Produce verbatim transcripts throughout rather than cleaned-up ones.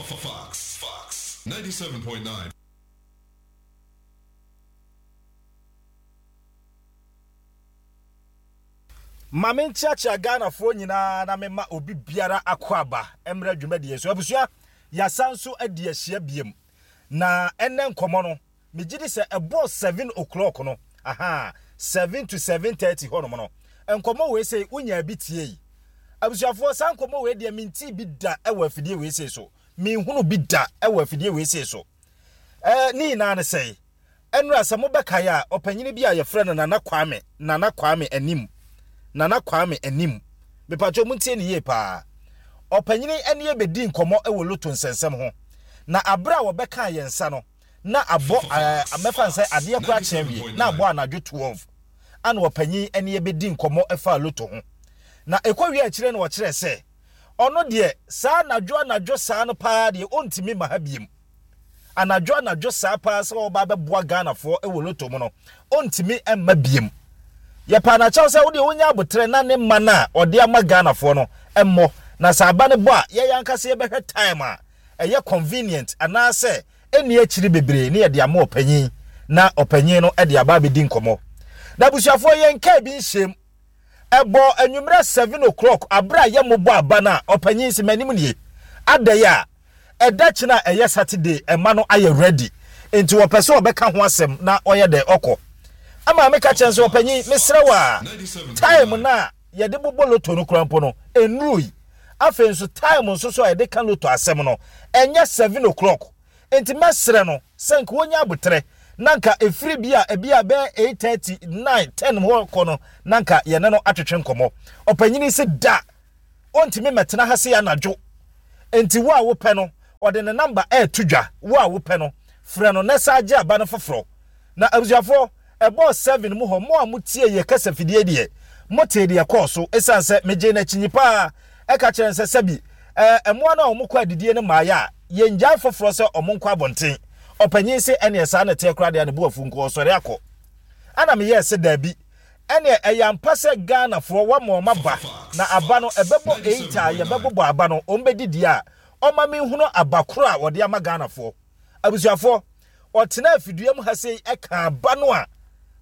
Fox, Fox, ninety-seven point nine. Ma menkyeakyea Ghanafoɔ nyinaa na mema obi biara akɔ aba mmerɛ dwumadie so. Abusua, yɛasan nso adi ahyia biem. Na ɛnɛ nkɔmmɔ no, megye di sɛ ɛbɔɔ seven o'clock no, aha, seven to seven thirty hɔnom no, nkɔmmɔ wei sei wonya bi tie yi. Abusuafoɔ, saa nkɔmmɔ wei deɛ mentii bi da wɔ afidie wei sei so. Menhunu bi da wɔ afidie wei sei so. Ɛɛ, ne nyinaa ne sɛe. Ɛnora sɛ mobɛkae a, ɔpanyini bi a yɛfrɛ no Nana Kwame, Nana Kwame Anim, Nana Kwame Anim. Mepatwa muntie ne yie paa. Ɔpanyini ɛne yɛbɛdi nkɔmmɔ wɔ loto nsɛnsɛm ho. Na abere a wɔbɛkaa yɛn nsa no, na abɔ ɛɛ mɛfa nsɛ adeɛ koraa kyɛn wie, na abɔ anadwo twelve. Ana ɔpanyin ɛne yɛbɛdi nkɔmmɔ ɛfa loto ho. Na ɛkɔ wie akyire no ɔkyerɛ sɛ, ɔno deɛ saa anadwo anadwo saa no paa deɛ ɔntumi ma ha biem. Anadwo anadwo saa paa sɛ ɔba bɛboa Ghanafoɔ wɔ loto mu no, ɔntumi mma biem. Yɛpa n'akyɛw sɛ wodeɛ wonya abotrɛ na ne mma no a ɔde ama Ghanafoɔ no mmɔ. Na sɛ aba no bɔ a, yɛyɛ ankasa yɛbɛhwɛ time a ɛyɛ convenient anaasɛ ɛnni akyiri bebree ne yɛde ama ɔpanyin na ɔpanyin no de aba abɛdi nkɔmmɔ. Na abusuafoɔ, yɛn kaa bi nhyɛm. Ɛbɔ anwummerɛ seven o'clock abere a yɛmmobɔ aba no a ɔpanyin si m'anim nie. Adɛn a ɛda kyena a ɛyɛ Saturday ɛma no ayɛ ready. Nti wɔpɛ sɛ ɔbɛka ho asɛm na ɔyɛ dɛ ɔkɔ. Ama meka kyerɛ sɛ ɔpanyin mesrɛ wo a time na yɛde bobɔ loto no kora mpo no ɛnnuru yi. Afei nso time nso so a yɛde ka loto asɛm no ɛnyɛ seven o'clock. Nti mɛsrɛ no sɛ nka wonya abotrɛ na nka ɛfiri bi a ebi a bɛyɛ eight thirty nine ten hɔ kɔ no na nka yɛne no atwetwe nkɔmmɔ. Ɔpanyini sɛ da ɔntumi mɛtena ha se anadwo. Nti wo a wopɛ no ɔde ne number ɛɛto dwa. Wo a wopɛ no frɛ no na saa gye aba no foforɔ. Na abusuafoɔ, ɛbɔɔ seven mu hɔ, mo a motie yɛ kasa fidie deɛ mote deɛ kɔɔ so. Ɛsiane sɛ megye n'akyinyi paa ɛka kyerɛ sɛ sɛbi ɛɛ mmoa no a wɔn kɔ adidie no mmaayɛ a yɛngyae foforɔ sɛ ɔmo nkɔ abɔnten. Ɔpanyin sɛ ɛneɛ saa na ɛteɛ koraa deɛ ne bo afu nko ɔsɔre akɔ. Ɛna meyɛɛ sɛ daabi, ɛneɛ ɛyɛ ampa sɛ Ghanafoɔ wɔama ɔma ba na aba no ɛbɛbɔ eight a yɛbɛbobɔ aba no ɔmo bɛdidi a ɔma menhunu aba koro a wɔde ama Ghanafoɔ. Abusuafoɔ, ɔtena afidua mu ha sei ɛka aba no a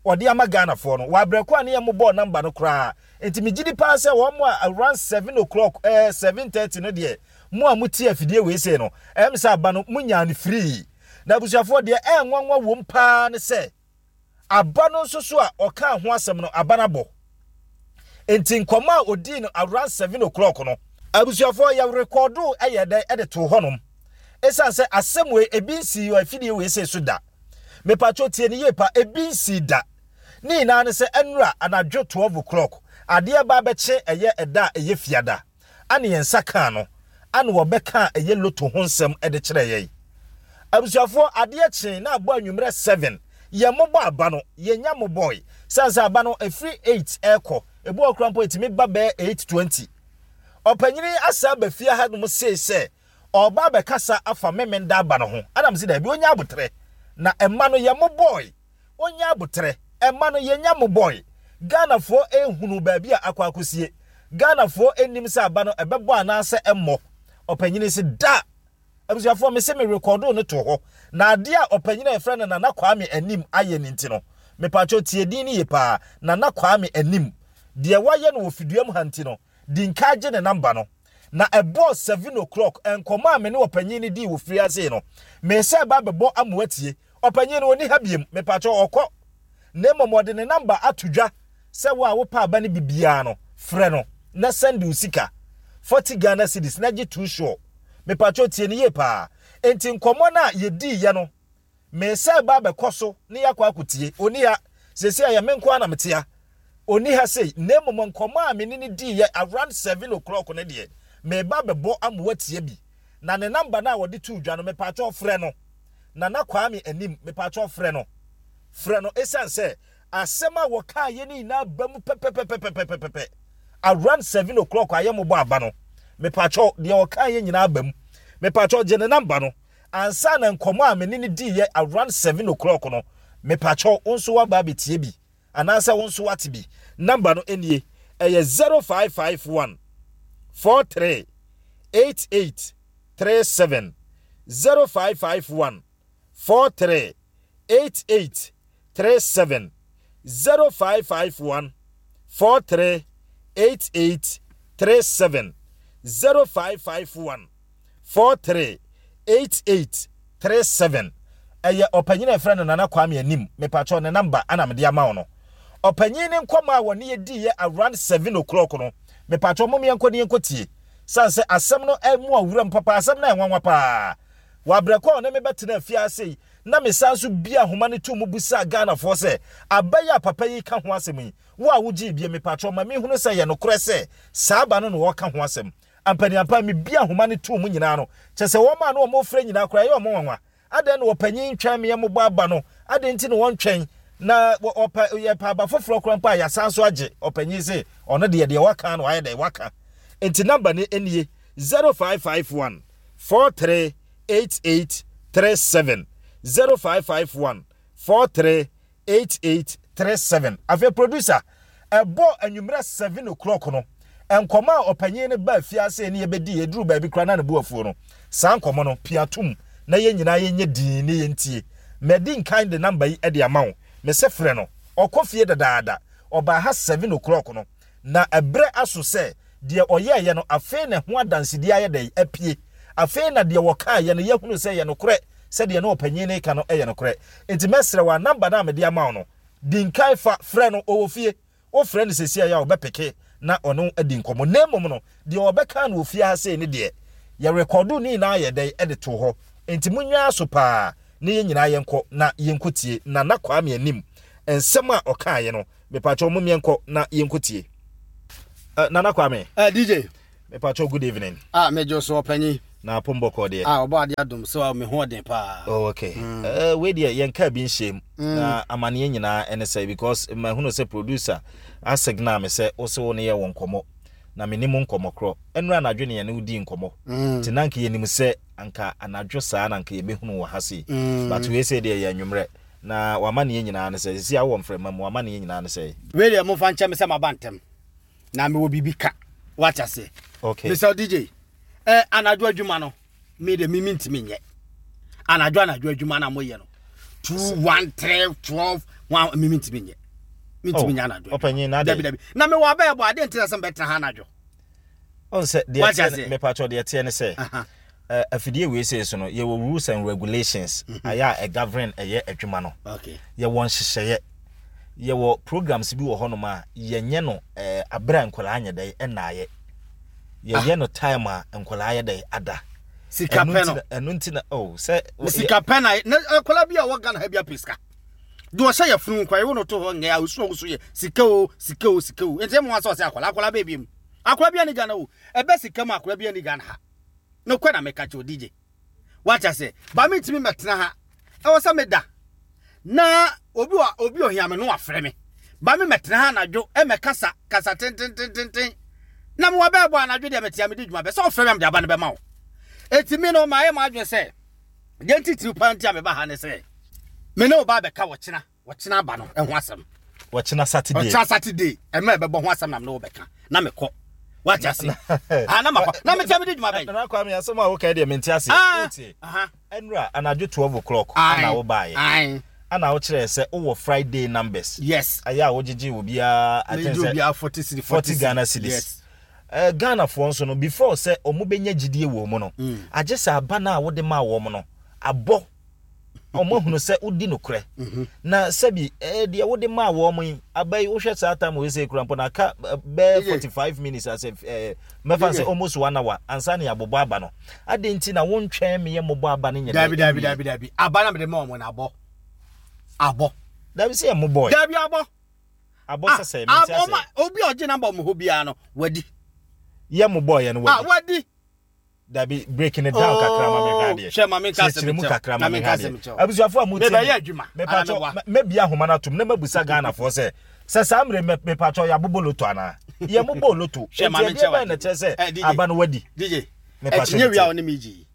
ɔde ama Ghanafoɔ no wɔabrɛko a ne yɛ mobɔɔ number no koraa. Nti megye di paa sɛ wɔn a around seven o'clock ɛɛ seven thirty no deɛ mo a motie afidie wei sei no ɛm sɛ aba no monyaa no free. Na abusuafoɔ, deɛ ɛnwanwa wom paa ne sɛ aba no nso so a ɔkaa ho asɛm no aba no abɔ. Nti nkɔmmɔ a odii no around seven o'clock no, abusuafoɔ, yɛ rekɔdo ɛyɛ dɛ ɛde too hɔnom. Ɛsiane sɛ asɛm wei ebi nsii wɔ afidie wei sei so da. Mepatwo tie ne yie pa, ebi nsii da. Ne nyinaa ne sɛ ɛnura anadwo twelve o'clock adeɛ ba bɛkye ɛyɛ ɛda a ɛyɛ fiada ane yɛn nsa kaa no ane wɔbɛka ɛyɛ loto ho nsɛm ɛde kyerɛ yɛn. Abusuafoɔ, adeɛ kyee na abɔ anwummerɛ seven, yɛn mobɔ aba no yɛnya mobɔe. Sane sɛ aba no ɛfiri eight ɛrekɔ, ebi wɔ koraa mpo ɛtumi ba bɛyɛ eight twenty. Ɔpanyini asa aba fie ha nom sei sɛ ɔba abɛkasa afa memenda aba no ho. Ɛna mese daabi, ɔnya abotrɛ na ɛma no yɛ mobɔe. Ɔnya abotrɛ ɛma no yɛnya mobɔe. Ghanafoɔ ehunu baabi a akɔ akɔsie. Ghanafoɔ enim sɛ aba no ɛbɛbɔ anaasɛ ɛmmɔ. Ɔpanyini se da. Abusuafoɔ, mese me rekɔdo no to hɔ. Na adeɛ a ɔpanyini a yɛfrɛ no Nana Kwame Anim ayɛ ne nti no, mepatwo tie din no yie paa. Nana Kwame Anim deɛ wayɛ no wɔ fidua mu ha nti no, di nka gye ne number no. Na ɛbɔɔ seven o'clock nkɔmmɔ a me ne ɔpanyin no dii wɔ firi ase no, mesɛ ba bɛbɔ amoa tie. Ɔpanyin no ɔni ha biem, mepatwo ɔkɔ. Na mmom ɔde ne number ato dwa sɛ wo a wopɛ aba no bibiara no, frɛ no na send wo sika forty Ghana cedis na gye too sure. Mepatwo tie ne yie paa. Enti nkɔmmɔ no a yɛdiiɛ no, mesɛ ba bɛkɔ so ne yɛakɔ akɔtie. Ɔni ha, seesei ɛyɛ me nko ara na mete ha. Ɔni ha sei, na mmom nkɔmmɔ a me ne no diiɛ around seven o'clock no deɛ, meba bɛbɔ amoa tie bi. Na ne number no a wɔde too dwa no, mepatwo frɛ no. Nana Kwame Anim, mepatwo frɛ no. Frɛ no ɛsiane sɛ asɛm a wɔkaa yɛ no nyinaa ba mu pɛpɛpɛpɛpɛpɛpɛ. Around seven o'clock a yɛmmobɔ aba no, mepatwo deɛ ɔkaa yɛ nyinaa ba mu. Mepatwo gye ne number no. Ansa na nkɔmmɔ a me ne no diiɛ around seven o'clock no, mepatwo wo nso woaba abɛtie bi anaasɛ wo nso wate bi. Number no nie, ɛyɛ zero five five one four three eight eight three seven. zero five five one four three eight eight three seven zero five five one four three eight eight three seven zero five five one four three eight eight three seven. Ɛyɛ ɔpanyin a yɛfrɛ no Nana Kwame Anim. Mepakyɛw, ne number ana mede ama wo no. Ɔpanyin ne nkɔmɔ a wɔne yɛ di yɛ around seven o'clock no, mepakyɛw, mom yɛnkɔ ne yɛnkɔ tie. San sɛ asɛm no ɛmu awuram papa, asɛm no ɛnwanwa paa. Wabrɛkɔ a ɔne me bɛtena afiase yi na mesan so bia ahoma no to mu busa Ghanafoɔ sɛ abɛyɛ a papa yi ka ho asɛm yi, wo a wogye bie, mepakyɛw, ma mehunu sɛ yɛ nokorɛ sɛ saa aba no na wɔka ho asɛm. Ampaniampa mebia ahoma no to mu nyinaa no, kyɛ sɛ wɔn a na wɔn frɛ nyinaa koraa ɛyɛ wɔn nwanwa. Adɛn na wɔpanyin twɛn me yɛ aba no? Adɛn nti na wɔntwɛn na ɔpɛ yɛpɛ aba foforɔ koraa mpo a yɛasan so agye? Ɔpanyin sɛ ɔno deɛ deɛ waka no wayɛ dɛ waka. Nti number no nie: zero five five one four three eight eight three seven, zero five five one four three eight eight three seven. Afei producer, ɛbɔ anwummerɛ seven o'clock no, nkɔmɔ a ɔpanyin no ba afiase ne yɛbɛdi yɛduru baabi koraa na ne bu afuo no, saa nkɔmɔ no piatum na yɛn nyinaa yɛnyɛ dinn ne yɛntie. Mɛdi nkan de number yi de ama wo. Mesɛ frɛ no, ɔkɔ fie dadaada. Ɔbaa ha seven o'clock no na ɛberɛ aso sɛ deɛ ɔyɛɛyɛ no, afei na ho adansedie ayɛ dɛ apue. Afei na deɛ wɔkaeɛ no yɛhunu sɛ yɛ nokorɛ, sɛdeɛ na ɔpanyin no ka no yɛ nokorɛ. Nti mɛsrɛ wɔ number no a mede ama wo no, di nkan fa frɛ no. Ɔwɔ fie. Wofrɛ no sɛsi a yɛ a ɔbɛpeke na ɔno adi nkɔmmɔ. Na mmom no, deɛ ɔbɛka no wɔ fie ha sei ne deɛ yɛrekɔdo ne nyinaa yɛ dɛn ɛde to hɔ. Nti monyaa so paa ne yɛn nyinaa yɛnkɔ na yɛnkɔ tie Nana Kwame Anim nsɛm a ɔkaeɛ no. Mepakyɛw, mom yɛnkɔ na yɛnkɔ tie. uh, nana Kwame. Uh, D J. Mepakyɛw, good evening. Ah, megye so, ɔpanyin. Na apɔmbɔkɔ deɛ? Ah, ɔbɔ ade adom sɛ me ho ɔden paa. Oh, okay. mm. uh, wei deɛ yɛnka bi nhyɛm mm. na amanneɛ nyinaa ɛne sɛ, because mahunu sɛ producer asignal me sɛ wo sɛ wo ne yɛ wɔ nkɔmmɔ na menim nkɔmmɔ korɔ. Ɛnura anadwo ne yɛne wodi nkɔmmɔ, nti na nka yɛnim sɛ anka anadwo saa na anka yɛbɛhunu wɔ ha sei, but wei sɛ deɛ yɛ anwummerɛ. Na wama ne yɛ nyinaa ne sɛ sisi awɔ mframa mu, wama ne yɛ nyinaa ne sɛ Wei deɛ, momfa nkyɛ me sɛ maba ntɛm na mewɔ biribi ka, wate aseɛ? Okay. Mesɛ D J, eh, anadwo adwuma no, me de me mentumi nyɛ anadwo anadwo adwuma na moyɛ no two, one, three, twelve, one, me mentumi nyɛ, mentumi nyɛ anadwo. Ɔpanyin na dabi dabi, na mewɔ abɛɛ bɔ adeɛ ntina sɛ mbɛtena ha anadwo. Ɔn sɛ deɛ teɛ, mepatwɔ, deɛ teɛ ne sɛ afidie wei sei so no, yɛwɔ rules and regulations ayɛ a ɛgovern ɛyɛ adwuma no. Okay. Yɛwɔ nhyehyɛeɛ, yɛwɔ programs bi wɔ hɔnom a yɛnyɛ no ɛɛ abere a nkwadaa nyɛ dɛ ɛnaayɛ, yɛyɛ no time a nkwadaa yɛ dɛ ada. Sika pɛ no. Ɛno nti na oh sɛ sika pɛ na na akwadaa bi a ɔwɔ Ghana ha bi apɛ sika de ɔhyɛ yɛ funu nkwa ewo no to hɔ ngɛ a osu ɔwoso yɛ sika o, sika o, sika o. Nti ɛmu wa sɛ ɔsɛ akwadaa akwadaa bɛɛ bi mu, akwadaa bi ani Ghana o, ɛbɛ sika mu, akwadaa bi ani Ghana ha no kɔ na meka kyerɛ D J, wate ase? Ba mi ntumi mɛtena ha, ɛwɔ sɛ meda na obi wa obi ohia me no wafrɛ me ba mi mɛtena ha anadwo ɛmɛ kasa kasa tentententen na mo wa bɛɛ bɔ anadwo deɛ mɛtia mi di dwuma bɛ sɛ ɔfrɛ mi am de aba ne bɛma wo. Eti mi no maa yɛ mo adwene sɛ deɛ ntitiri paa nti a meba ha ne sɛ me ne wo ba bɛka wɔkyena wɔkyena aba no ɛho asɛm. Wɔkyena Saturday. Ɔkyena Saturday ɛmɛ ɛbɛbɔ ho asɛm na me ne wo bɛka na mekɔ, wate ase? Ah, na makɔ na metia mede dwuma bɛn. Nana Kwame, asɛm a woka deɛ mente ase. Ah, wotie? Aha. Ɛnura anadwo twelve o'clock Aye. ana wobaeɛ Aye. ana wokyerɛɛ sɛ wowɔ Friday numbers yes ayɛ a wogyegye obiara I think megye sɛ obiara forty cedi. forty Ghana cedis. Yes. uh, Ghanafoɔ nso no, before sɛ ɔmo bɛnya gyidie wɔ mu no, Mm. agye sɛ aba no a wode maa wɔn no abɔ, ɔmo ahunu sɛ wodi nokorɛ. Mhm. Na sɛbi eh, deɛ wode maa wɔn yi aba yi, wohwɛ saa time wei sɛ kura mpo na aka eh, bɛɛ Yeye. forty five minutes asɛ eh, mɛfa sɛ Yeye. almost one hour ansa ne yɛabobɔ aba no. Ade nti na wontwɛn meyɛ mmobɔ aba no nyɛ dɛ Dabi dabi. ɛnwie? Dabi dabi, aba na mede ma ɔmo na abɔ abɔ. Dabi, sɛ yɛ mmobɔ Dabi, abɔ. Abɔ Ah, sɛ sɛ mente abɔ ma ase. Obi a ɔgye number ɔmo hɔ biara no wadi. Yɛ mmobɔ yɛ no ah wadi. Wadi. Dabi, breaking it down kakra ma mehwɛ adeɛ. Hwɛ, ma menka asɛm Kyerɛkyerɛ mu nkyɛw. kakra Ma ma menka mehwɛ asɛm adeɛ. nkyɛw. Abusuafo a motie Mebɛyɛ me, adwuma, mepatwɔ ana meboa? mɛbia ahoma no atom na mabusa Ghanafoɔ sɛ sɛ saa mmerɛ mɛ- mepatwɔ yɛabobɔ loto anaa yɛmobɔ loto? Hwɛ, ma enti menkyɛ ɛdeɛ bɛn na w'adeɛ. kyerɛ Eh, sɛ D J. aba no wadi? D J, Mepatwɔ ɛkyinye wia metie. wo ne me gye yi,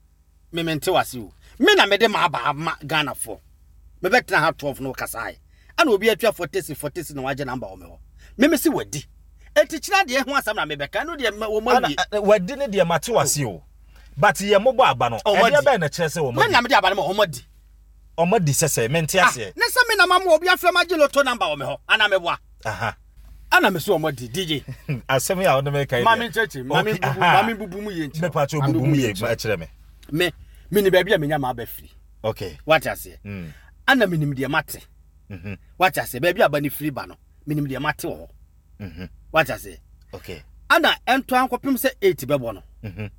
me mente wase o. Me na mede ma aba ama Ghanafoɔ. Mebɛtena ha twelve no kasae ana obi atua forty cedi, forty cedi na wagye number wɔ me hɔ. Me me se wadi, enti kyena deɛ ho asɛm na mebɛka no deɛ wɔ ma Ana wie. ɛ, wadi ne deɛ mate wase o. But yɛ mobɔ aba no, Ɔmo ɛdeɛ adi. bɛn na kyerɛ sɛ Me wɔn na adi? mede aba no ma ɔmo adi. Ɔmo adi sɛ sɛ mente Ah, aseɛ. ne sɛ me na ma mo obi afrɛ ma gye lotto number wɔ me hɔ ana meboa? Aha. Ana me so ɔmo adi, D J. Asɛm yi a wode meka yi Ma deɛ. me nkyerɛkyerɛ, ma me Okay, bubu aha. ma me bubu mu yie nkyerɛ. Mepa kyɛ, Ma me bubu mu yie nkyerɛ. ma kyerɛ me. Me mene baabi a menya ma aba firi. Okay. Wate aseɛ? Mm. Ana menim deɛ mate. Mhm. Wate aseɛ? Baabi a aba ne firi ba no, menim deɛ mate wɔ hɔ. Mhm. Wate aseɛ? Okay. Ana ɛnto ankɔpem sɛ eight bɛbɔ no, Mhm.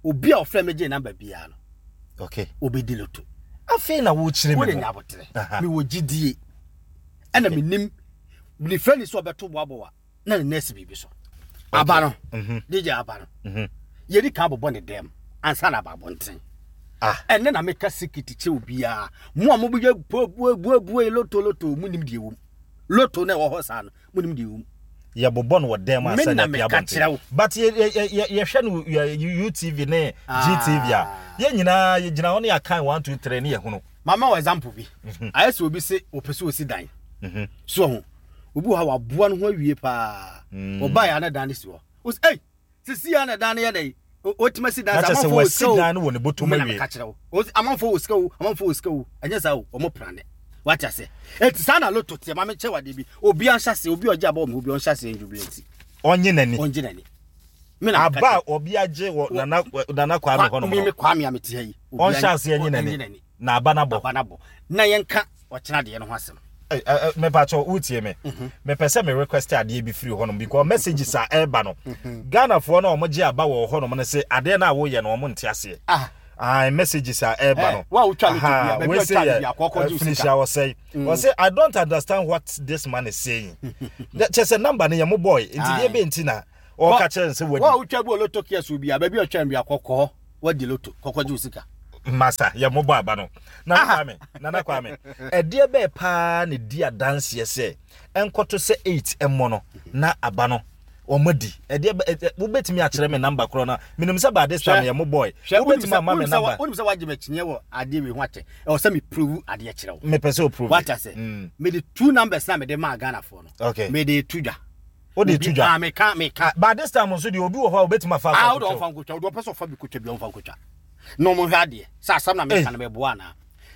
obi a ɔfrɛ me gye number biara no, Okay. obɛdi lotto. Afei na wokyerɛ me Wode mu. nya abotrɛ. Aha. Mewɔ gyidie ɛna menim mefrɛ ne sɛ ɔbɛto boaboa na ne nɛɛse biribi so aba no. Mhm. D J, aba no, Mhm. yɛdi ka bobɔ ne dɛm ansa na aba abɔnten. Ah. Ɛnɛ na meka secret kyerɛ obiara. Mo a mobɛyɛ buabuabuabua lotto lotto, munim deɛ wɔ mu. Lotto na ɛwɔ hɔ saa no, munim deɛ wɔ mu. Yɛbobɔ no wɔ dɛm Me ansa na na apia meka kyerɛ abɔnten. wo. But yɛ- yɛ- yɛ- yɛ- yɛhwɛ no yɛ- U T V ne G T V a, yɛn nyinaa yɛgyina hɔ ne yɛakan one, two, three ne yɛhunu. Mama wɔ example bi. Ayɛ sɛ obi se ɔpɛ sɛ ɔsi dan Mhm. so ho, obi wɔ ha waboa no ho awie paa, Mm. ɔbaa yɛ ana dan no si hɔ. Ɔsi ei, sisi yɛ ana dan no yɛ dɛ ɔtumi asi dan Na kyerɛ sɛ sɛ amanfoɔ wɔ wasi sika o. dan no wɔ ne bɔtɔm Me na awie. meka kyerɛ wo. Ɔsi amanfoɔ wɔ sika o, amanfoɔ wɔ sika o. Ɛnyɛ saa o, ɔmo prane. Wate ase? Eti saa na lotto teɛ. Maame kyɛ wadeɛ bi, obi anhyɛ ase, obi a ɔgye abɔ ɔmo, obi ɔnhyɛ ase njubilate. Ɔnye n'ani. Ɔngye n'ani. Me na meka Aba kyerɛ a obi agye wɔ nana nana Kwame hɔ nom me no, me Kwame a mete ha yi, obi ɔnhyɛ aseɛ nye ɔnye n'ani n'ani. Na aba no abɔ. Aba no abɔ na yɛnka ɔkyena deɛ no ho asɛm. Mepakyɛ, wotie me, mepɛ sɛ me request adeɛ bi firi hɔnom because messages a ɛreba no, Ghanafoɔ no a ɔmogye aba wɔ hɔnom no sɛ adeɛ no a woyɛ no, ɔmo nte aseɛ. Ah. Ah, messages a ɛreba Eh, no. wo a wotwa lotto Aha, bia, baabi a wei wotwa sɛ lotto yɛ, bia, kɔkɔ eh, gye wo finish sika. a wɔsɛe wɔsɛ, "I don't understand what this man is saying." Kyɛ sɛ number no yɛ mo boy nti deɛ Aye. bɛ nti na ɔka kyerɛ no sɛ Wo a wadi. wotwa bi wɔ lotto kiosk bi a, baabi a ɔtwa bi a, kɔkɔɔ wadi lotto, kɔkɔ gye wo sika. Masa yɛ mobɔ aba no. Nana Kwame, Nana Kwame, ɛdeɛ bɛɛ paa ne di adanseɛ sɛ ɛnkɔto sɛ eight ɛmmɔ no na aba no wɔn di? Ɛdeɛ bɛ ɛ wobɛtumi akyerɛ me number korɔ no? Menim sɛ by this time Hwɛ. yɛ mo boy. Hwɛ, wobɛtumi ama me number? Wonim sɛ woagye m'akyiniɛ wɔ adeɛ wei ho akyɛ, ɛwɔ sɛ meprove adeɛ kyerɛ wo. Mepɛ sɛ oprove. Wate ase? Mm. Mede two numbers na mede maa Ghanafoɔ no. Okay. Mede to dwa. Wode Obi- to dwa. Ah, meka meka. By this time nso deɛ, obi wɔ hɔ a wobɛtumi afa Ah, akɔ wode akɔtwa. ɔmfa nkotwa, wode ɔpɛ sɛ ɔfa bi kotwa bi, ɔmfa nkotwa na ɔmo hwɛ adeɛ sɛ asɛm na meka no bɛboa anaa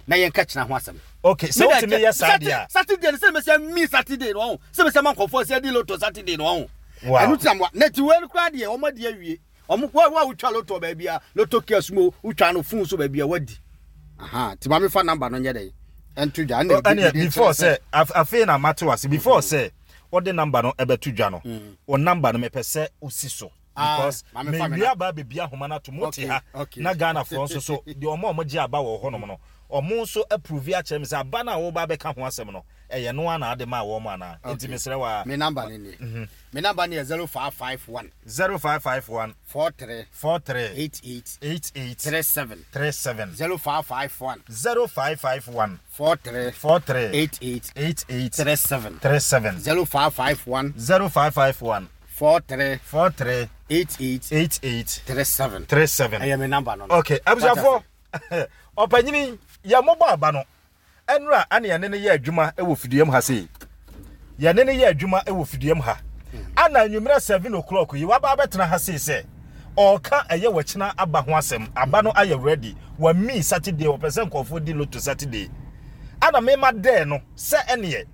na yɛnka kyena ho asɛm. Okay, sɛ wotumi yɛ saa deɛ a Saturday no, sɛ mɛsɛ mi Saturday no ɔho sɛ mɛsɛ ma nkɔfoɔ sɛ adi lotto Saturday no ɔho. Wow. Ɛno tina mo na ti wei no koraa deɛ, ɔmo adi awie. Ɔmo wo wo a wotwa lotto baabi a, lotto kiosk mu, wotwa no phone so baabi a, wadi. Aha, ti maame fa number no nyɛ dɛ ɛnto dwa ɛna ɛne mede before kyerɛ. Sɛ af- afei na mate wase, before sɛ wɔde number no ɛbɛto dwa no, o number no mepɛ sɛ osi so Ah, because maame fa me mewie na- aba abɛbi ahoma no ato mo te Okay, ha okay. na Ghanafoɔ nso so deɛ, ɔmo a ɔmo gye aba wɔ hɔnom no, ɔmo nso approve akyerɛ me sɛ aba no a wɔba abɛka ho asɛm no, ɛyɛ no a na ade maa wɔn anaa. Nti mesrɛ wa. Me number ne nie, me number ne yɛ zero five five one zero five five one four three four three eight eight eight eight three seven. three seven. zero five five one zero five five one four three four three eight eight eight eight three seven. three seven. zero five five one zero five five one four three four three eight eight eight eight three seven. three seven. Ɛyɛ me number no no. Okay, abusuafoɔ, ɔpanyini yɛ mobɔ aba no ɛnura ana yɛne no yɛ adwuma wɔ fiduam ha sei, yɛne no yɛ adwuma wɔ fiduam ha ana anwummerɛ seven o'clock yi waba abɛtena ha sei sɛ ɔɔka ɛyɛ wɔkyena aba ho asɛm. Aba no ayɛ ready, wami Saturday, wɔpɛ sɛ nkɔfoɔ di lotto Saturday ana mema dɛɛ no sɛ ɛneɛ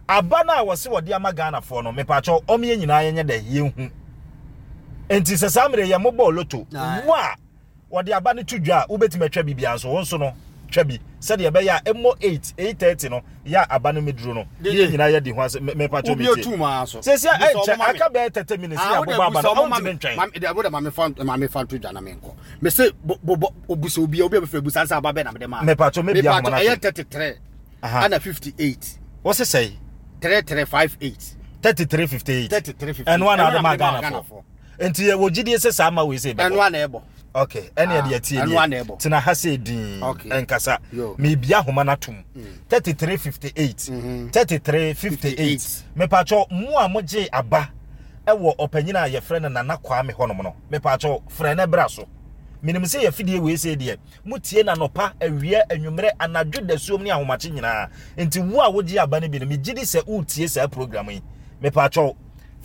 aba no a wɔse wɔde ama Ghanafoɔ no, mepaakyɛw, ɔmo yɛ nyinaa yɛnyɛ dɛ yɛnhu. Nti sɛ saa mmerɛ yɛ mobɔɔ lotto Aye. wo a wɔde aba no to dwa a, wobɛtumi atwa biribiara nso, wo nso no twa bi sɛdeɛ ɛbɛyɛ a ɛmmɔ eight, eight thirty no yɛ a aba no meduro no ne yɛ nyinaa yɛdi ho ase. Mepatwɔ Obi metie. otu mu ara so. Sɛsi a Busa ɔmo ɛnkyɛ ma me. aka bɛyɛ thirty minutes Ah, ne wode abobɔ aba busa no, ɔmo ma ɔntumi me. ntwɛn. Ma- wode ma me fa ma me fa nto dwa na menkɔ. Me se bo bo obusa obi a obi a bɛfrɛ busa nsa aba bɛ na mede ma. Mepatwɔ, mebia Mepatwɔ, ahoma no ɛyɛ ato. thirty-three Aha. ana fifty-eight. Wo se sɛi? thirty-three fifty-eight. thirty-three fifty-eight. thirty-three fifty-eight. Ɛno ana ade Ɛno ma na mede maa Ghanafoɔ? Nti yɛwɔ gyidie sɛ saa ma wei sɛ Ɛno ɛbɛbɔ. ana ɛbɔ. Okay, ɛne Ah, ɛde atie ɛno ana deɛ ɛbɔ. tena ha sɛ din. Okay. Ɛnkasa. Yo. Mebia ahoma no atom, thirty-three fifty-eight, thirty-three fifty-eight. Mepatwɔ, mo a mogye aba ɛwɔ ɔpanyin a yɛfrɛ no Nana Kwame hɔnom no, mepatwɔ, frɛ no bra so. Menim sɛ yɛfidie wei sɛ deɛ motie na nɔpa, awia, anwummerɛ, anadwo, dasuom ne ahomakye nyinaa. Nti wo a wogye aba no bi no, megye di sɛ woretie saa program yi. Mepatwɔ,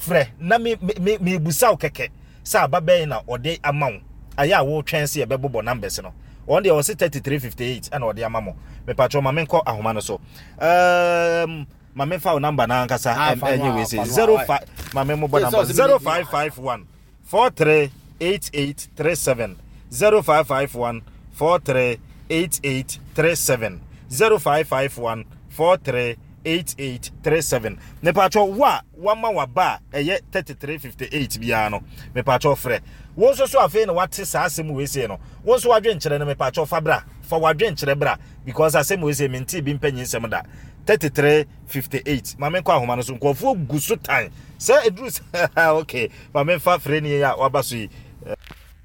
frɛ na me- me- me- mebusa wo kɛkɛ sɛ aba bɛn na ɔde ama wo. Ayɛ a wotwɛn sɛ yɛbɛbobɔ numbers no, wɔn deɛ wɔse thirty-three fifty-eight ɛna ɔde ama mo. Mepatwɛ, ma menkɔ ahoma no so. um, ma memfa wo number no ankasa. Ah, fa no ɛnyɛ a, wei sɛ fa no a, zero five, ma memmobɔ Yes, number ɔse me- zero five five one four three eight eight three seven, zero five five one four three eight eight three seven, zero five five one four three eight eight three seven. Mepatwɛ, wo a wama waba a ɛyɛ thirty-three fifty-eight biara no, mepatwɛ, frɛ. Wo nso so afei na wate saa asɛm wei sei no, wo nso wadwenkyerɛ no, mepatwɛ, fa bra, fa wadwenkyerɛ bra, because asɛm wei sei mente bi mpanyin nsɛm da. thirty-three fifty-eight. Ma menkɔ ahoma no so, nkurɔfoɔ gu so tan sɛ ɛduru sɛ. Okay, ma memfa frɛ ni a waba so yi.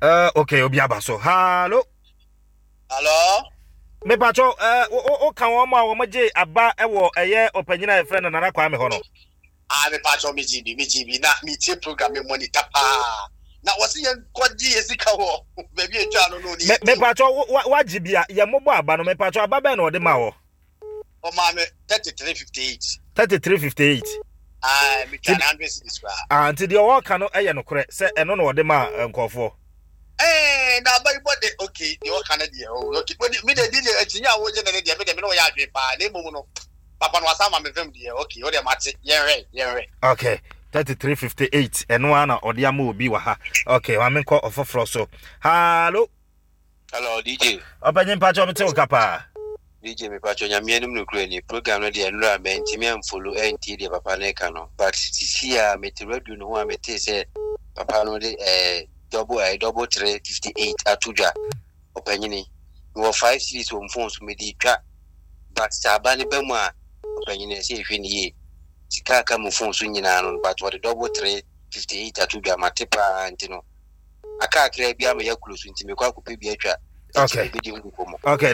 uh, okay, obi aba so. Hallo. Hello? Mepatwɛ, uh, woka wɔn a wɔn gye aba wɔ ɛyɛ ɔpanyin a yɛfrɛ no Nana Kwame hɔ no? Ah, me patro, me G B, me G B na me tie program, me monitor paa. Na wɔsi yɛn kɔgye yɛ sika wɔ baabi etwa no no ni. Me mepatwɛ, wagye bi a yɛ mmobɔ aba no, mepatwɛ, aba bɛn na ɔde ma wɔ? Ɔmaa me thirty three fifty eight. thirty-three fifty-eight. Ah, me twa hundred cedis koraa. Ah, nti deɛ ɔwɔ no yɛ nokorɛ sɛ ɛno na ɔde ma nkɔfoɔ? Ɛɛ, na aba yi bɔ de, okay, deɛ ɔka no deɛ, oh, okay, mi de di de akyinya a wogye ne ne deɛ, mi de mi ne wɔyɛ adwene paa, na emom no papa no wasa ama me fam deɛ, okay, o deɛ mate, yɛnhwɛ, yɛnhwɛ. Okay, thirty-three fifty-eight, ɛno ara na ɔde ama obi wɔ ha. Okay, maame, nkɔ ɔfoforɔ so. Hallo. Hello, D J. Ɔpanyin, mpakyɛ, ɔmete wo ka paa. D J, mepatwɛ, Nyame anim nokorɛ ni, program no deɛ, nnora mantimi amfollow ɛntie deɛ papa no ka no, but sisi a mete radio no ho a metee sɛ papa no de eh, double eh, double three fifty eight ato dwa. Ɔpanyini, mewɔ five cedis wɔ m phone so mede twa, but sɛ aba ne ba mu a, ɔpanyini, ɛsɛ yɛhwɛ ne yie. Sika aka mu phone so nyinaa no, but wɔde double three fifty eight ato dwa, mate paa, nti no aka akra bi ama yɛ close, nti mekɔ akɔpɛ bi atwa. Okay. Bɛdi ho nkɔmmɔ. Okay.